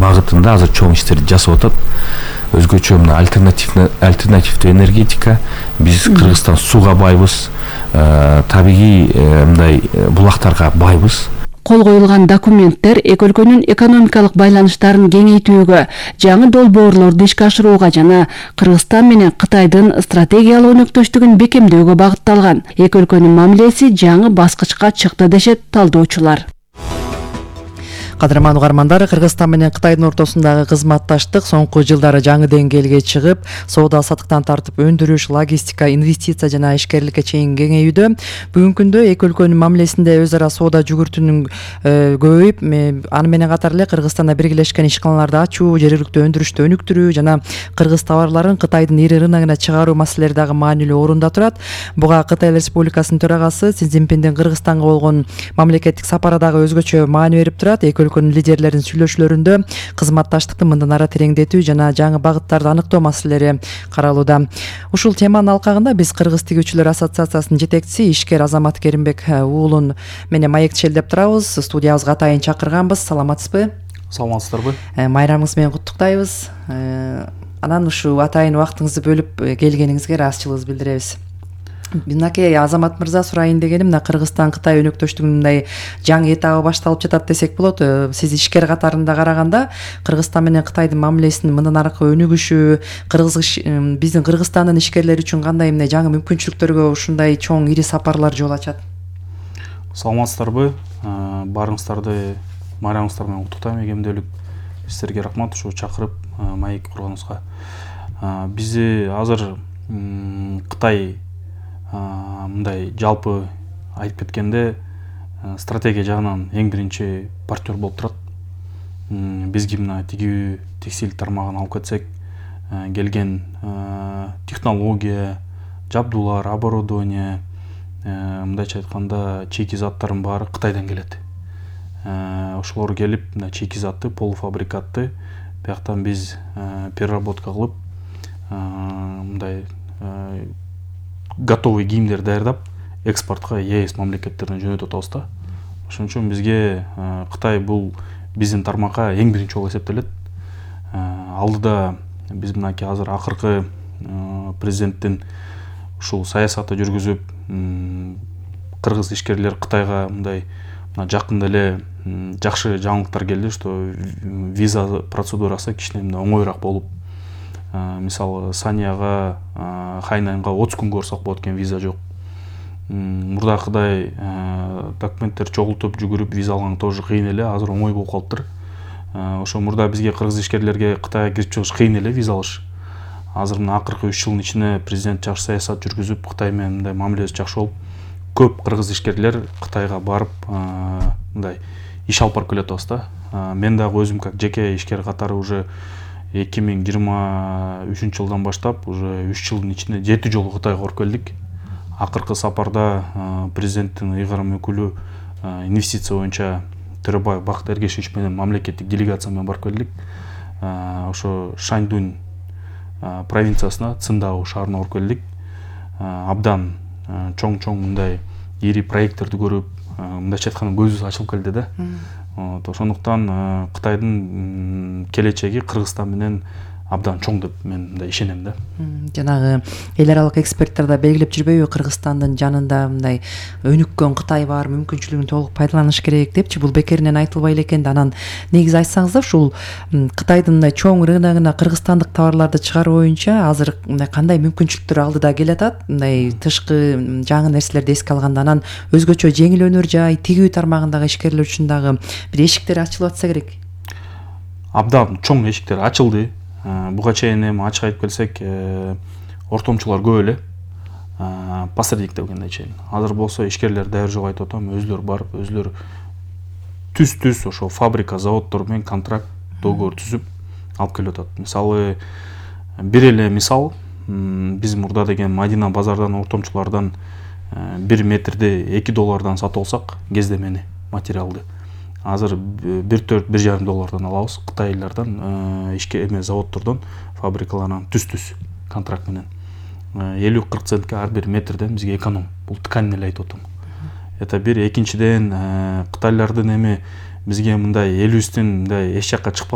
багытында азыр чоң иштерди жасап атат. Өзгөчө мына альтернативдүү энергетика, биз Кыргызстан сууга байбыз, табигый мындай булактарга байбыз. Кол коюлган документтер эки өлкөнүн экономикалык байланыштарын кеңейтүүгө, жаңы долбоорлорду ишке ашырууга жана Кыргызстан менен Кытайдын стратегиялык өнөктөштүгүн бекемдөөгө багытталган. Эки өлкөнүн мамилеси жаңы баскычка чыкты дешет талдоочулар. Кадырман угармандар, Кыргызстан менен Кытайдын ортосундагы кызматташтык соңку жылдары жаңы деңгээлге чыгып, соода саттыктан тартып өндүрүш, логистика, инвестиция жана ишкерликке чейин кеңейүүдө. Бүгүнкү күндө эки өлкөнүн мамилесинде өз ара соода жүгүртүүнүн көбөйүп, аны менен катар эле Кыргызстанда биргелешкен ишканаларды ачуу, жергиликтүү өндүрүштү өнүктүрүү жана кыргыз товарларын Кытайдын ири рыногуна чыгаруу маселелери дагы маанилүү орунда турат. Буга Кытай Республикасынын төрагасы Си Цзиньпиндин Кыргызстанга болгон мамлекеттик сапары дагы өзгөчө маани берип турат. Өлкөнүн лидерлеринин сүйлөшүүлөрүндө кызматташтыкты мындан ары тереңдетүү жана жаңы багыттарды аныктоо маселелери каралууда. Ушул теманын алкагында биз Кыргыз тигүүчүлөр ассоциациясынын жетекчиси ишкер Азамат Керимбек уулун менен маектешелдеп турабыз. Студиябызга атайын чакырганбыз. Саламатсызбы? Саламатсыздарбы? Майрамыңыз менен куттуктайбыз. Анан ушул атайын убактыңызды бөлүп келгениңизге ыраазычылыгыбызды билдиребиз. Мынакей Азамат мырза, сурайын дегеним, мына Кыргызстан Кытай өнөктөштүгүнүн мындай жаңы этабы башталып жатат десек болот. Сиз ишкер катарында караганда Кыргызстан менен Кытайдын мамилесинин мындан аркы өнүгүшү, биздин Кыргызстандын ишкерлери үчүн кандай эмне жаңы мүмкүнчүлүктөргө ушундай чоң ири сапарлар жол ачат? Саламатсыздарбы? Баарыңыздарды майрамыңыздар менен куттуктайм. Эмгемдүүлүк сиздерге рахмат ушу чакырып маек курганыңызга. Бизди азыр Кытай мындай жалпы айтып кеткенде стратегия жагынан эң биринчи партнер болуп турат. Бизге мына тигүү, текстиль тармагын алып кетсек, келген технология, жабдуулар, оборудование, мындайча айтканда чейки заттардын баары Кытайдан келет. Ошолор келип, мына чейки затты, полуфабрикатты бияктан биз переработка кылып, мындай готовый кийимдер даярдап экспортко ЕС мамлекеттерине жөнөтүп атабыз да. Ошон үчүн бизге Кытай бул биздин тармакка эң биринчи жолу эсептелет. Алдыда биз мынакей азыр акыркы президенттин ушул саясаты жүргүзүп, кыргыз ишкерлер Кытайга мындай жакында эле жакшы жаңылыктар келди, что виза процедурасы кичине оңоюраак болуп, мисалы Санияга, Хайнанга 30 күнгө барсак болот экен, виза жок. Мурдакыдай документтер чогултуп жүгүрүп виза алган тоже кыйын эле, азыр оңой болуп калыптыр. Ошо мурда бизге кыргыз ишкерлерге Кытайга кирип чыгыш кыйын эле, виза алыш. Азыр мына акыркы 3 жылдын ичинде президент жакшы саясат жүргүзүп, Кытай менен мындай мамилеси жакшы болуп, көп кыргыз ишкерлер Кытайга барып, мындай иш алып барып келатабыз да. Мен дагы өзүм как жеке ишкер катары уже 2023 жылдан баштап уже 3 жылдын ичинде 7 жолу Кытайга барып келдик. Акыркы сапарда президенттин ыйгарым өкүлү инвестиция боюнча Төрөбаев Бакыт Эргешевич менен мамлекеттик делегация менен барып келдик. Ошо Шаньдунь провинциясына, Циндао шаарына барып келдик. Абдан чоң мындай ири проекттерди көрүп, мындайча айтканда көзүбүз ачылып келди да. Ошондуктан Кытайдын келечеги Кыргызстан менен абдан чоң деп мен мындай ишенем да. Жанагы эл аралык эксперттер да белгилеп жүрбөйбү, Кыргызстандын жанында мындай өнүккөн Кытай бар, мүмкүнчүлүгүн толук пайдаланыш керек депчи, бул бекеринен айтылбай эле экен да. Анан негизи айтсаңыздар, ушул Кытайдын мындай чоң рыногуна кыргызстандык товарларды чыгаруу боюнча азыр мындай кандай мүмкүнчүлүктөр алдыда келатат? Мындай тышкы жаңы нерселерди эске алганда, анан өзгөчө жеңил өнөр жай, тигүү тармагындагы ишкерлер үчүн дагы бир эшиктер ачылып атса керек. Абдан чоң эшиктер ачылды. Буга чейин эми ачык айтып келсек, ортомчулар көп эле, посредник дегендей чейин. Азыр болсо ишкерлер даяр жок айтып атам, өзлөр барып, өзлөр түз ошо фабрика, заводдор менен контракт, договор түзүп алып келип атат. Мисалы, бир эле мисал, биз мурда деген Мадина базардан ортомчулардан 1 метрди $2 сатып алсак, кездемени, материалды. Азыр $1,4–1,5 алабыз Кытайлардан, ишке эме заводдордон, фабрикалардан түз контракт менен. 50–40 центке ар бир метрден бизге эконом. Бул ткань эле айтып атам. Это бир, экинчиден Кытайлардын эми бизге мындай элибиздин мындай эч жакка